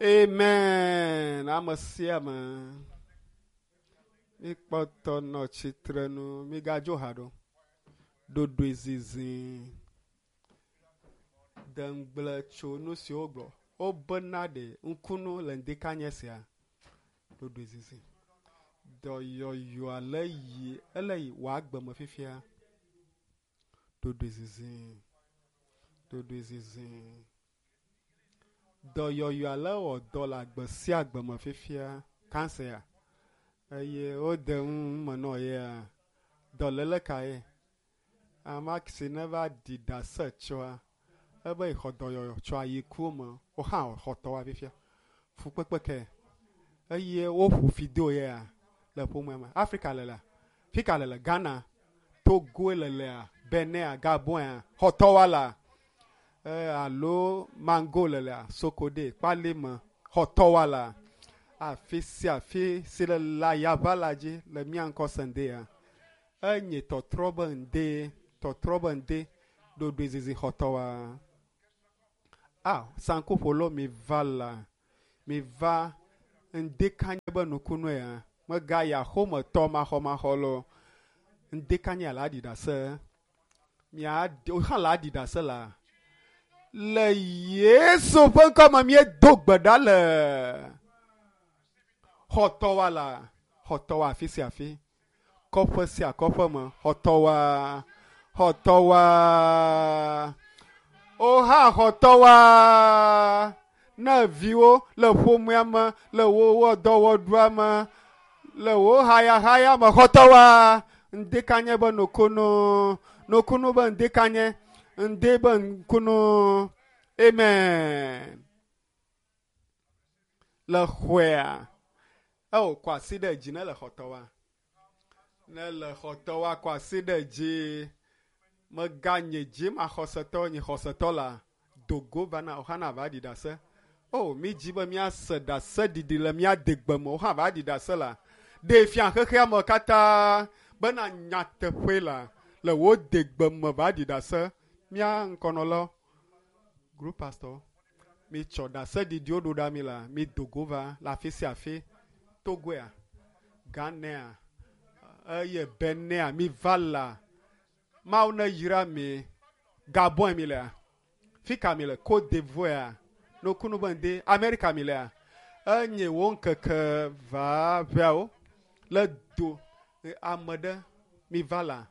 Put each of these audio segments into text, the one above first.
Amen. Ame sia ame. Mikpɔtɔ nɔ tsitrenu. Migadzo ha ɖo. Ɖoɖoe zizi. De ŋugble tso nu siwo wogblɔ. Wobena ɖe ŋkunu le ŋdikanye sia. Ɖoɖoe zizi. Dɔyɔyɔa le yi ele yi wò agbe me fifia. Ɖoɖoe zizi. Ɖoɖoe zizi. Dɔyɔyɔa le wɔ dɔ le agbe sia agbe me fifia. Kansea eye wode nu me nɔ yea. Dɔléle kae? Ama si ne va ɖi ɖase tsoa ebe yexɔ dɔyɔyɔ tso ayikuwo me. Wo hã xɔ tɔwoa fifia. Fukpekpe ke eye woƒo fi do yea le ƒomea me. Afrika le la. Fika le le Ghana, Togo le lea, Benin, Gabon, xɔtɔwoa la. E, alo Mango le lea, Sokode, Kpalime, xɔtɔwoa la. Afi sia afi si le le ayaʋa la dzi le mía ŋkɔ sendea. Enye tɔtrɔ be ŋde, tɔtrɔ be ŋde, ɖoɖoe zizi xɔtɔwoa. Ah, sankuƒolawo mi va la, mi va ŋdekanye be nukunu ya. Megayi axometɔ maxɔmaxɔ lo. Ŋdekanye la aɖi ɖase. Mia wo hã la aɖi ɖase la. Le Yesu ƒe ŋkɔ me míedo gbe ɖa le xɔtɔwa la, xɔtɔwa afi sia afi, kɔƒe sia kɔƒe me, xɔtɔwa, xɔtɔwa, o hã xɔtɔwa. Ne viwo le ƒomea me, le wo dɔwɔɖua me, le wo hayahaya me, xɔtɔwa. Ŋdekanye be nukunu, nukunu be ŋdekanye, ŋde be ŋkunu. Amen. Le xɔea, eo kɔ asi ɖe dzi ne le xɔtɔwa. Ne le xɔtɔwa kɔ asi ɖe dzi. Meganye dzi maxɔsetɔ nye xɔsetɔ la. Dogo va na wohã va ɖi ɖase. O, mi dzi be míase ɖase ɖiɖi le mía degbe me, wohã va ɖi ɖase la. Ɖe fia xexea me katã bena nyateƒe la le wo degbe me va ɖi ɖase. Mía ŋkɔnɔlawo, group pastor, mi tsɔ ɖase ɖiɖiwo ɖo ɖa mi la, mi dogo va le afi sia afi. Togoea, Ghanea, eye Benin, mi va la. Mawu ne yra mi. Gabon mi lea. Fika mi le Côte d'Ivoire, nukunu be ŋde Amerika mi lea. Enye wo ŋkeke va ʋeawo le do ame ɖe mi va la.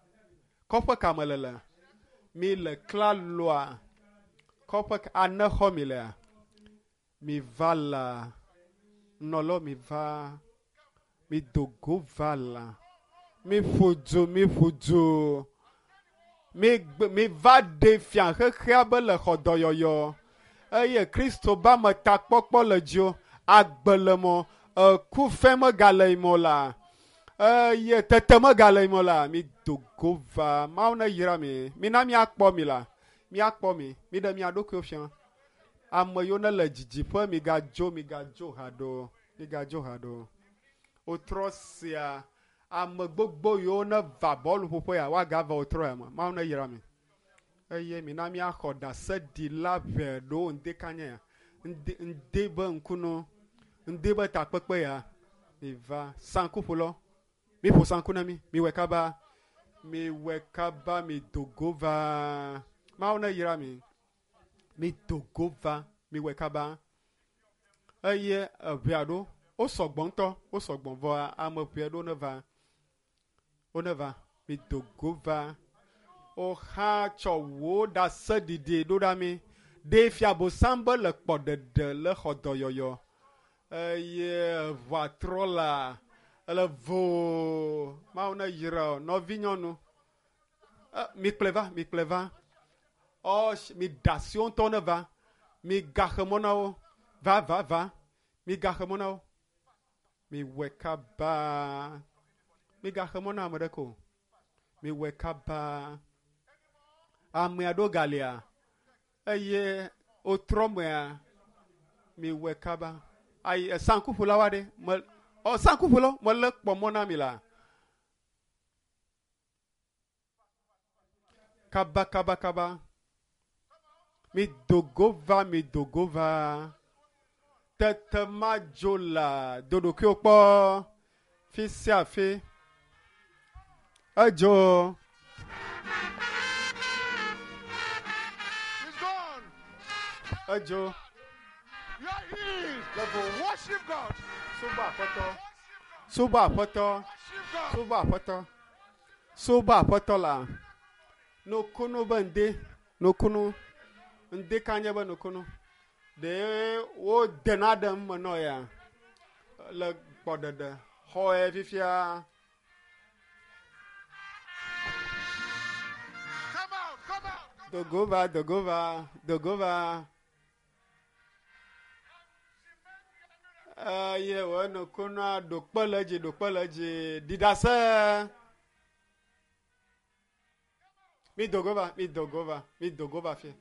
Kɔƒe ka me le le? Mi le Klaloa. Kɔƒe ka anexɔ mi lea? Mi va la. Nɔlɔ mi va. Mi dogo va la. Mi ƒo du, mi ƒo du. Mi gbe, mi va ɖe fia xexea be le xɔ dɔyɔyɔ. Eye Kristo ba me takpɔkpɔ le dzio. Agbe le mɔ. Eku fɛ megale yi mɔ la. Eye tete megale yi mɔ la. Mi dogo va. Mawu ne yra mi. Mi na míakpɔ mi la. Míakpɔ mi. Mi ɖe mia ɖokuiwo fia. Ame yiwo ne le didiƒe migadzo, migadzo haɖo. Migadzo haɖo. Wotrɔ sia ame gbogbo yiwo ne va bɔluƒoƒe ya woagava wotrɔ ya me. Mawu ne yra mi. Eye mina míaxɔ ɖaseɖila ʋɛ ɖewo ŋdekanye ya. Ŋde ŋde be ŋkunu, ŋde be takpekpe ya. Mi va sankuƒolawo. Mi ƒo sanku na mi. Mi wɔe kaba. Mi wɔe kaba mi dogo va. Mawu ne yra mi. Mi dogo va. Mi wɔe kaba. Eye eʋea ɖo. Wo sɔgbɔ ŋutɔ. Wo sɔgbɔ vɔa ame ʋɛ ɖewo ne va. Wo ne va. Mi dogo va. Wohã tsɔ wo ɖaseɖiɖi ɖo ɖa mi. Ɖe fia bosam be le kpɔ ɖeɖe le xɔ dɔyɔyɔ. Eye eʋua trɔ la ele voo. Mawu ne yra wo. Nɔvinyɔnu. Mi kplɔe va, mi kplɔe va. Ɔ, mi ɖe asi wo ŋutɔ ne va. Mi gaxe mɔ na wo. Va, va, va. Mi gaxe mɔ na wo. Mi wɔe kaba. Mi gaxe mɔ na ame ɖeke o. Mi wɔe kaba. Ame aɖewo galia eye wotrɔ mea mi wɔe kaba. Ayi sankuƒolawo aɖe me ɔ sankuƒolawo mele kpɔ mɔ na mi la. Kaba kaba kaba. Mi dogo va, mi dogo va. Tete madzo le do ɖokuiwò kpɔ fi sia fi. Edzo. He's gone. Edzo. You are healed. Worship God. Subɔ Aƒetɔ. Subɔ Aƒetɔ. Worship God. Subɔ Aƒetɔ. Subɔ Aƒetɔ la. Nukunu be ŋdi. Nukunu. Ŋdi ka nye be nukunu. Ɖe wodena ɖe eme nɔ ya le kpɔɖeɖe xɔe fifia. Come out. Come out. Dogo va, dogo va, dogo va. Eye wò nukunua ɖo kpe le edzi, ɖo kpe le edzi. Ɖi ɖase. Mi dogo va, mi dogo va, mi dogo va fia.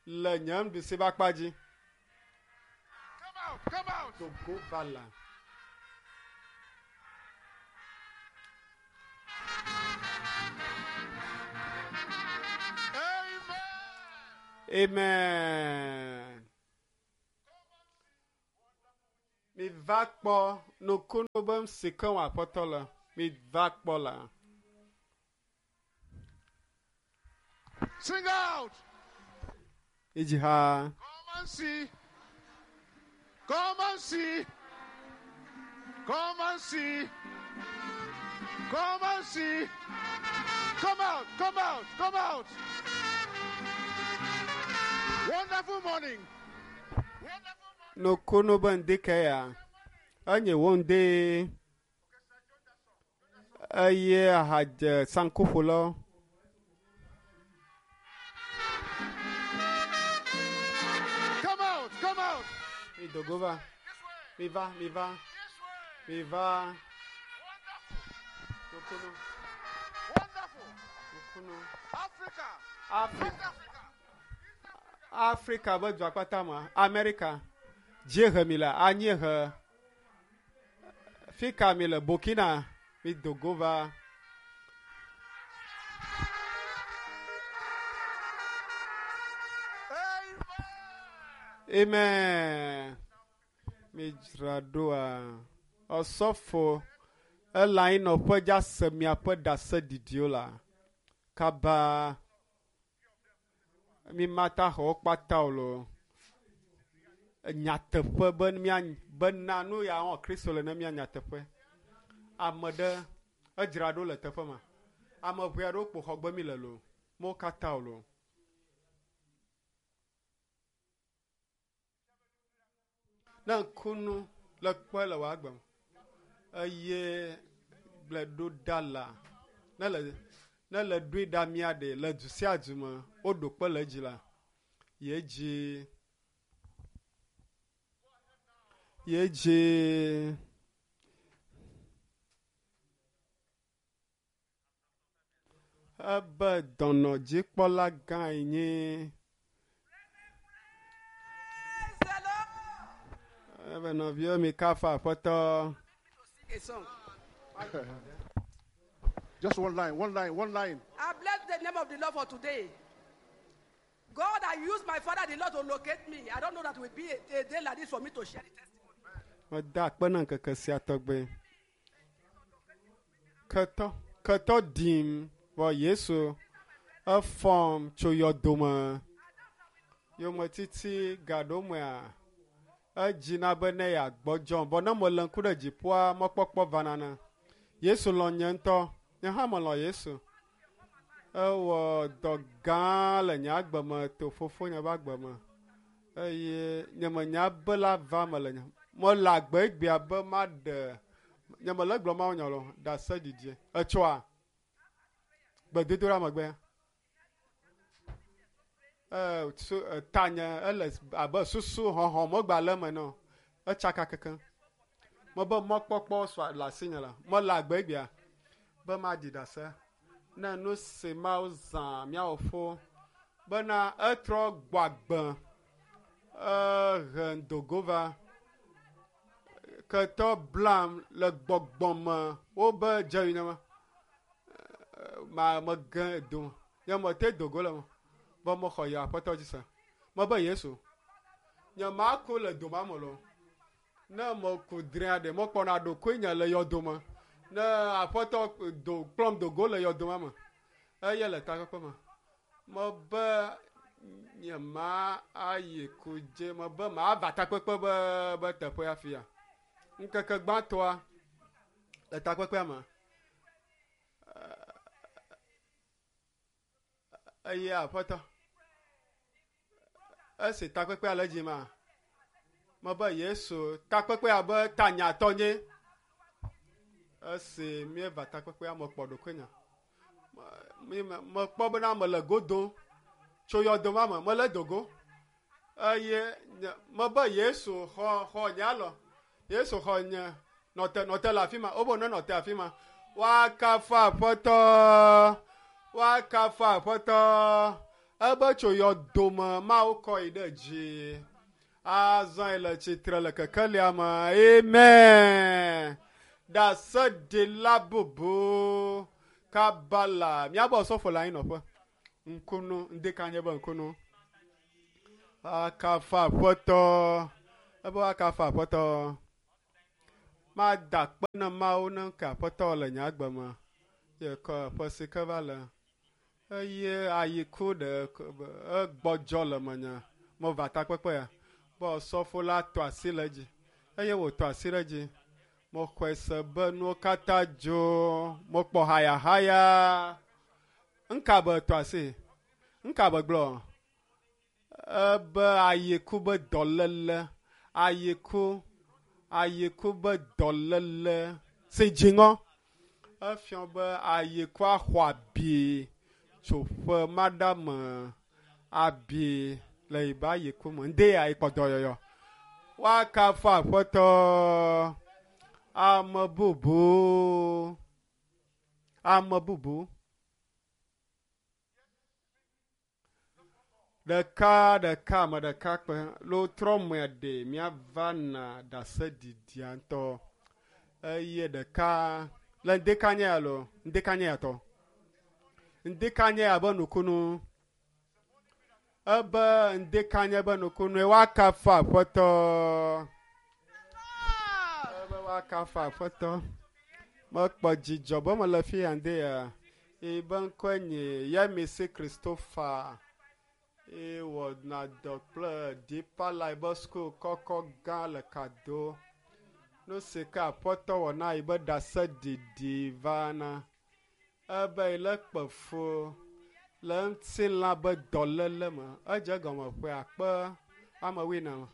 Le nye nuɖusi ƒe akpa dzi. Come out. Come out. Dogo va la. Amen. Amen. Mi va kpɔ nukunu be si ke wɔ Aƒetɔ le. Mi va kpɔ la. Sing out. Idzi ha. Come and see. Come and see. Come and see. Come and see. Come out. Come out. Come out. Wonderful morning. Wonderful morning. Nukunu be ŋdi ke ya. Enye wo ŋdi. Eye ahadze sankuƒolawo. Come out. Come out. Mi dogo va. This way. Mi va, mi va, This way. mi va. Wonderful. Nukunu, Wonderful. nukunu. Africa. Afrika, West Africa. Afrika be dua kpata me, Amerika. Dziehe mi le, anyiehe. Fika mi le, Burkina. Mi dogo va. Amen. Amen. Mi dzra ɖoa. Ɔsɔfo ele anyinɔƒe dza se miaƒe ɖaseɖiɖiwo la. Kaba mi mata xɔ wo kpata o loo. Nyateƒe be mia bena nu ya wɔ Kristo le ne mia nyateƒe. Ame ɖe edzra ɖo le teƒe ma. Ame ʋe aɖewo kpo xɔgbe mi le loo. Mo katã o loo. Ne ŋkunu le kpɔe le wò agbe me eye gblɔe ɖo ɖa la ne le ne le ɖoe ɖa mia ɖe le du sia du me woɖo kpe le edzi la ye dzi ye dzi ebe dɔnɔdzikpɔla gã ye nye Praise the Lord. ebe nɔviwo mi kafa aƒetɔ. Sing a song. Just one line, one line, one line. I bless the name of the Lord for today. God, I used my father, the Lord, to locate me. I don't know that will be a day like this for me to share the testimony. Meda akpe na ŋkeke sia tɔgbe. Ketɔ, ketɔ dim vɔ Yesu efɔm tso yɔdome. Yometiti gaɖomea edzina be ne yeagbɔdzɔm vɔ ne mele ŋku ɖe dziƒoa mɔkpɔkpɔ vana na. Yesu lɔ̃ nye ŋutɔ. Nye hã melɔ̃ Yesu. Ewɔ dɔ gã le nye agbe me to fofonye ƒe agbe me. Eye nye menya be la va me le nye mele agbe egbea be maɖe nye mele gblɔ Mawu nya o ɖase didie. Etsɔa gbedodoɖa megbe. Su tanye ele abe susu hɔhɔ megba le eme nɔ. Etsaka kekeŋ. Mebe mɔkpɔkpɔ sɔ le asinye la. Mele agbe egbea be maɖi ɖase ne nu si Mawu zã míawo fo bena etrɔ gbɔ agbe ehe dogo va ketɔ blam le gbɔgbɔ me wobe dze yi nema ma mege do nye mete dogo le me be mexɔ yi aƒetɔ dzi se mebe Yesu nye maku le doma me loo. Ne meku drĩa ɖe mekpɔna ɖokuinye le yɔdome. Ne aƒetɔ do kplɔm do go le yɔdome me eye le takpekpe me. Mebe nye ma ayi kudze mebe mava takpekpe be be teƒe afia. Ŋkeke gbãtɔa le takpekpea me eye aƒetɔ esi takpekpea le dzi ma mebe Yesu takpekpea be tanyatɔ nye esi míeva takpekpea mekpɔ ɖokuinye mekpɔ bena mele go dom tso yɔdo ma me mele dogo eye mebe Yesu xɔ xɔ nye alɔ Yesu xɔ nye nɔte nɔte le afi ma wobe ne nɔte afi ma woakafu aƒetɔ woakafu aƒetɔ ebe tso yɔdome Mawu kɔ yi ɖe dzi azɔ yi le tsitre le kekelia me amen ɖaseɖila bubu kabala míabe osɔfo le anyinɔƒe ŋkunu ŋdeka nye be ŋkunu akafu aƒetɔ ebe woakafu aƒetɔ mada akpe na Mawu ne ke aƒetɔ le nye agbe me ye kɔ ƒe si ke va le eye ayiku ɖe egbɔdzɔ le menye meva takpekpe ya be osɔfo la tɔ asi le edzi eye wòtɔ asi ɖe edzi mexɔe se be nuwo katã dzo mekpɔ hayahaya ŋka be tɔ asi ŋka be gblɔ ebe ayiku be dɔléle ayiku ayiku be dɔléle si dziŋɔ efiɔ be ayiku axɔ abi tso ƒe maɖa me abi le yibe ayiku me ŋde ya yikpɔ dɔyɔyɔ woakafu aƒetɔ ame bubu ame bubu ɖeka ɖeka ame ɖeka kpe lo trɔ mea ɖe míava na ɖaseɖiɖia ŋutɔ eye ɖeka le ŋdeka nye ya lo ŋdeka nye ya tɔ ŋdeka nye ya be nukunu ebe ŋdeka nye be nukunu woakafu aƒetɔ ebe woakafu aƒetɔ mekpɔ dzidzɔ be mele fi ya ŋde ya ebe ŋkɔe nye Yemisi Christopher ewɔna dɔ kple Deeper Life School kɔkɔ gã le Kado. Nu si ke aƒetɔ wɔ na yi be ɖaseɖiɖi va na ebe yi le kpe fu le ŋutilã be dɔléle me. Edze egɔme ƒe akpe ame wuiene me.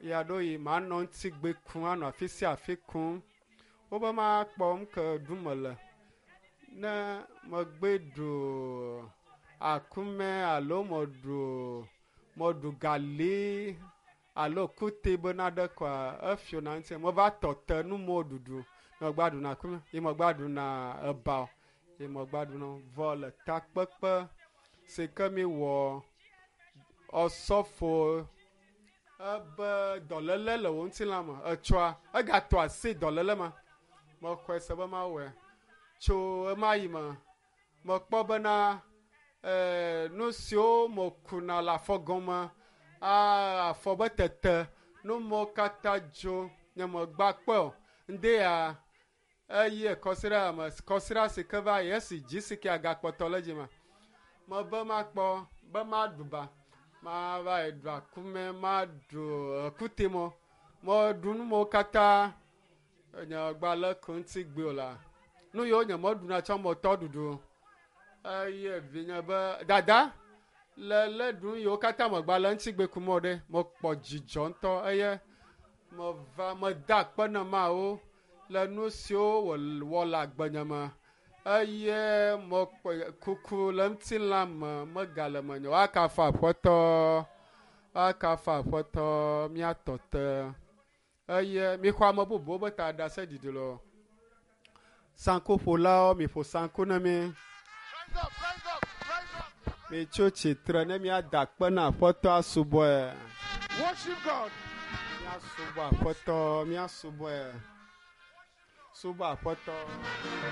Ya ɖo yi manɔ ŋutigbe kum anɔ afi sia afi kum. Wobe makpɔ nu ke ɖum mele. Ne megbe ɖu akume alo meɖu meɖu gali alo kute be naɖe koa efiona ŋuti meva tɔ te numɔwo ɖuɖu megba ɖuna akume ye megba ɖuna eba o ye megba ɖuna vɔ le takpekpe si ke mi wɔ osɔfo ebe dɔléle le wò ŋutilã me etsɔa egatɔ asi dɔléle ma mexɔe se be mawɔe tso ema yi me mekpɔ bena nu siwo mekuna le afɔ gɔme afɔ be tete nu mawo katã dzo nye megba kpɔe o ŋde ya eye kɔsiɖa me kɔsiɖa si ke va yi esi dzi si ke agakpɔtɔ le dzi me mebe makpɔ be maɖu ba mava yi ɖu akume maɖu ekutemɔ meɖu nu mawo katã nye gba le ku ŋuti gbe o la nu yiwo nye meɖuna tsɔ metɔ ɖuɖu eye vinye be dada le le ɖu yiwo katã megba le ŋutigbe kum o ɖe mekpɔ dzidzɔ ŋutɔ eye meva meda akpe na Mawu le nu siwo wòwɔ le agbenye me eye mekpɔ kuku le ŋutilã me megale menye woakafu aƒetɔ woakafu aƒetɔ míatɔ te eye mixɔ ame bubuwo be ta ɖaseɖiɖi lɔ sankuƒolawo miƒo sanku na mi Rise up, rise up, rise up. mitso tsitre ne míada akpe na aƒetɔ asubɔe Worship God. míasubɔ aƒetɔ míasubɔe subɔ aƒetɔ.